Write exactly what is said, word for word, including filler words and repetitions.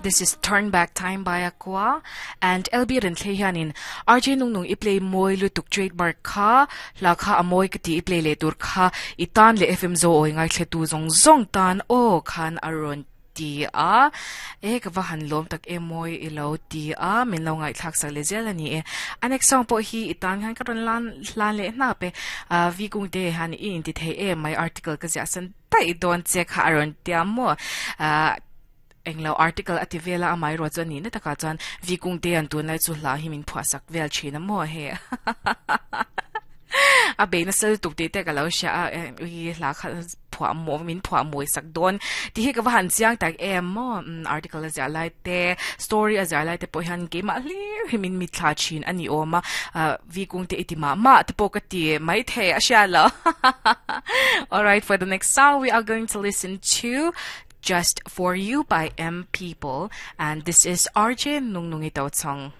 This is Turn Back Time by Aqua and L B ren thlei hianin R J nung nung i play moi lutuk trademark kha hla kha amoi ka ti i play le tur kha i tan le F M zo oi ngai thle tu zong zong tan o khan aron ti a e ka va han lom tak e moi i lo ti a min lo ngai thlak sak le zel ani e anek song po hi i tan khan ka ron lan lan le na pe a vi kung te han i in ti thei e my article ka zia san tai don che kha aron tia mo a englo article ati vela amai ro chuan ni na taka chuan vi kung te an tun lai chu hla hi min phua sak vel thina mo he a be na sel tuk te te ka lo sha a ui hla kha phua mo min phua moi sak don ti hi ka va han chiang tak em mo article a zia lai te story a zia lai te po hian ke ma hlir hi min mi thla chin ani oma vi kung te iti ma ma te po ka ti mai the a sha lo. All right, for the next song, we are going to listen to Just For You by M People, and this is R J Nung Nung Ito Song.